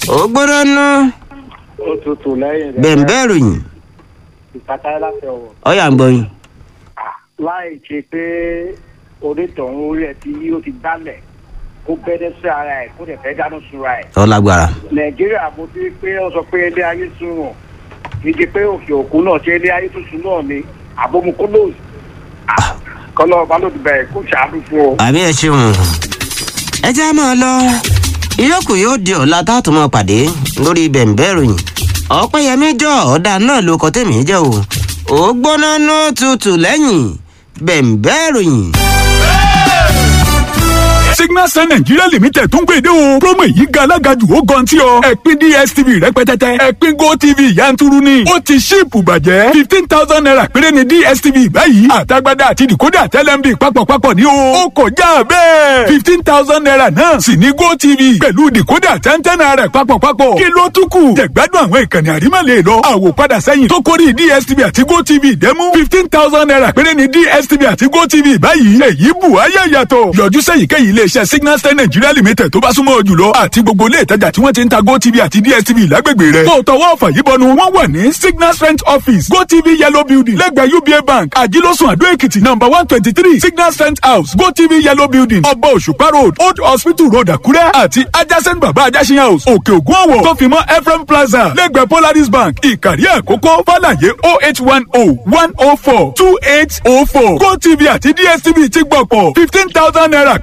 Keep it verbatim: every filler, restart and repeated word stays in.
Ó gbọ́dọ̀ nú. Ó tutù lẹ́yìn rẹ̀. Bẹ̀ǹbẹ̀ ròyìn. Ìpàtà láti ọ̀wọ̀. Ọ̀yà ń gbọ́ yín. Láì ṣe pé onítọ̀hún orí ẹ̀ tí ó ti dálẹ̀ kó bẹ́dẹ́ sí ara ẹ̀ kó dẹ̀ fẹ́ dáná sunra ẹ̀. Ó lágbára. Nàìjíríà mo ti rí pé wọ́n sọ pé ilé ayé sunwọ̀n kì í ṣe pé òkè òkun náà ṣe ilé ayé tuntun náà ni àbomukólóòsì. Kọ́lọ́ ọba ló ti bẹ̀rẹ̀ kó ṣàánú fún ọ. Àmì ẹ ṣeun. Ẹ jẹ́ á máa lọ. Ìyókù yóò di ọ̀la tá a tún máa pàdé lórí bẹ̀ǹbẹ̀ ròyìn. Ọ̀pẹ́yẹmí jọ ọ̀dà náà ló kọ́ tèmi jẹ́ o. Ó gbóná ní tutù lẹ́yìn bẹ̀ǹbẹ̀ ròyìn. Signal Sun Nigeria Limited tún gbèdé o. Promo yìí ga alága jù, ó gan tí ọ. Ẹ̀pin D S T V rẹpẹtẹtẹ, ẹ̀pin GoTV yanturu ni. Ó ti ṣíìpù bàjẹ́. Fifteen thousand naira péré ni D S T V báyìí. Àtagbádá àti decoder tẹ́lẹ̀mbì papọ̀papọ̀ ní o. Ó kọjá bẹ́ẹ̀. Fifteen thousand naira náà sì ní GoTV pẹ̀lú decoder ten naira papọ̀papọ̀. Kí ló tún kù? Jẹ̀gbádùn àwọn ìkànnì àrímọ̀lẹ̀ lọ. Àwòpadà sẹ́yìn tó kórìí D S T V àti GoTV dẹ́mú. Fifteen thousand naira péré ni D S T V àti GoTV báyìí. Èyí bù ayé yàtọ̀. Yọjú sẹ́yìnkéyìí iléeṣẹ́ Signal Star Nigeria Limited tó bá súnmọ́ ọ jùlọ àti gbogbo ilé ìtajà tí wọ́n ti ń ta GoTV àti D S T V lágbègbè rẹ̀. Tó tọwọ́ ọ̀fà yìí bọnu, wọ́n wà ní Signal Strength Office, GoTV Yellow Building, lẹ́gbẹ̀ẹ́ U B A Bank, Àjílọ́sùn, Àdó Èkìtì, number one twenty three, Signal Strength House, GoTV Yellow Building, Ọba Òṣùpá Road, Old Hospital Road, Àkúrẹ́, àti adjacent Bàbá Ajásin House, Òkè Ògùn Ọ̀wọ̀, tó fi mọ́ Ephraim Plaza lẹ́gbẹ̀ẹ́ Polaris Bank, Ìkàrí Àkókò. Fàlàyé oh eight one oh one oh four two eight oh four. GoTV àti D S T V ti gbọ̀pọ̀ fifteen thousand naira.